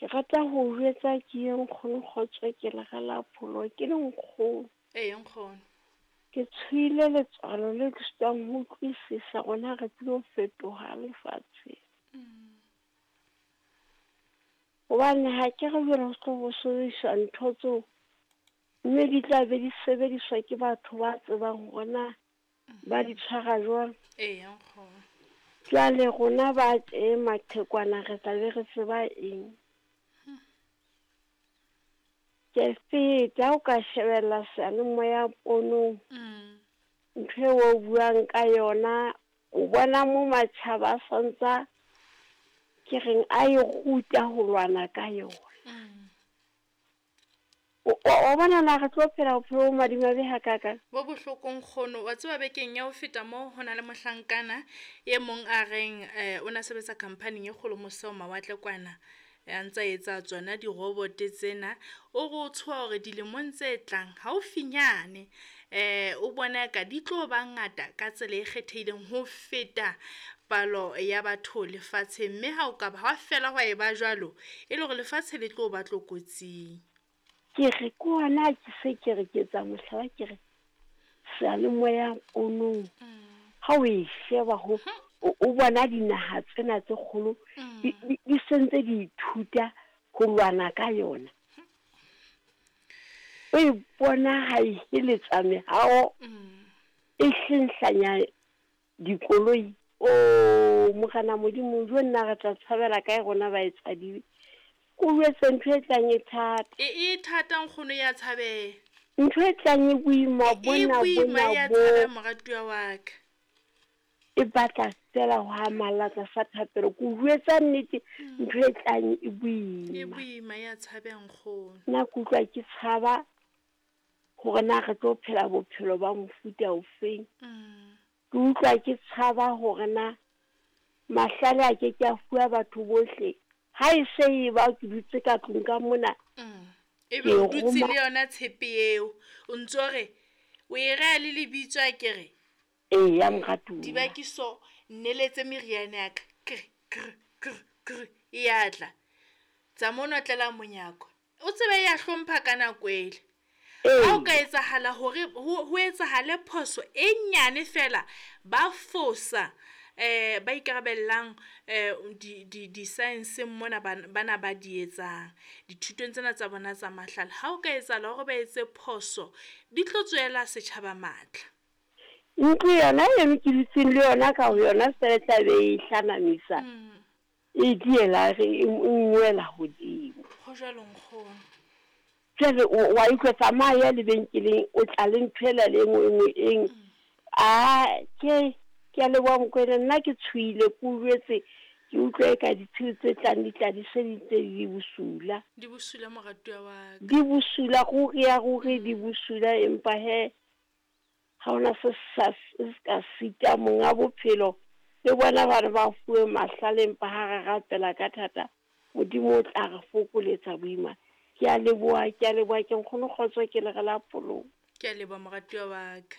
Ke rata ho o jwetsa ke ye nkgono kgotso ke lera la pholo ke le nkgono. Ee nkgono. Ke tshohile letswalo le ke sitwang ho utlwisisa rona re tlilo fetoha lefatsheng. Hobane ha ke re jwale ho tlo bo sebediswa ntho tseo mme di tla be di sebediswa ke batho ba tsebang hore na ba di tshwara jwang. Eya nkgono. Jwale rona ba tje maqhekwana re tla be re tseba eng? Ke feta ha o ka shebella seyalemoya ponong. Ntho eo o buang ka yona o bona mo matjhaba a santsa ke reng a e ruta ho lwana ka yona. O, o, wa bona na re tlo phela bophelo bo madimabe hakakang? Bo bohloko nkgono. Wa tseba bekeng ya ho feta mo ho na le mohlankana e mong a reng eh, o na sebetsa khamphaning e kgolo mose ho mawatle kwana a ntsa etsa tsona dirobote tsena. O re o tshoha hore dilemong tse tlang haufinyane eh o bona eka di tlo ba ngata ka tsela e kgethehileng ho feta palo ya batho lefatsheng, mme ha o ka ba hwa fela hwa e ba jwalo, e le hore lefatshe le tlo ba tlokotsing. Ke re ke hona ke se ke re ke etsa mohlala ke re seyalemoya ponong ha o e sheba ho o bona dinaha tsena tse kgolo di di sentse di ithuta ho lwana ka yona. O e bona ha e heletsa mehao e hlenhlanya Dikoloi, Oh, Morena Modimo, jo nna re tla tshabela kae rona baetsadibe? Ke o jwetse ntho e tlang e thata. E, e thata nkgono ya tshabeha. Ntho e tlang e boima E bona boima bona ya bo. tshabeha moratuwa wa ka. E batla fela ho amalla tlasa thapelo. Ke o jwetsa nnete, ntho e tlang e E boima. boima ya tshabeha nkgono. Nna ke utlwa ke tshaba hore na re tlo phela bophelo ba mofuta ofeng. Ke utlwa ke tshaba hore na mahlale a ke ke a fuwa batho bohle. Ha e se e ba ke dutse ka tlung ka mona, Ebe ke o dutse roma le yona tshepe eo, o ntso re o e reha le lebitso akere? Eya moratuwa. Dibakiso nneletse meriana ya ka, kr kr kr kr e ya tla. Tsa mo notlela monyako. O tsebe ya hlompha ka nako ele. Ha o ka etsahala hore ho ho etsahale phoso e nyane fela, ba fosa eh ba ikarabellang eh di di di-science mona bana ba di etsang dithutong tsena tsa bona tsa mahlale. Ha o ka etsahala hore ba etse phoso, di tlo tswela setjhaba matla. Ntlo yona eno ke dutseng le yona ka ho yona fela e tla be e hlanamisa e diela re e nngwela hodimo. Ho jwalo nkgono. Jwale o wa utlwa tsamaya lebenkeleng o tla le ntho ela le engwe engwe eng. A ke ke a leboha Mokoena nna ke tshohile ke o jwetse ke utlwa eka ditshiu tse tlang di tla di se di ntse di bosula. Di bosula moratuwa wa ka. Di bosula ruri ya ruri di bosula empa he ha hona se sa se ka sita monga bophelo le bona ba re ba fuwe mahlale empa ha re rapela ka thata Modimo o tla re fokoletsa boima. Ke a leboha ke a leboha ke nkgono kgotso ke lere la polong. Ke a leboha moratuwa wa ka.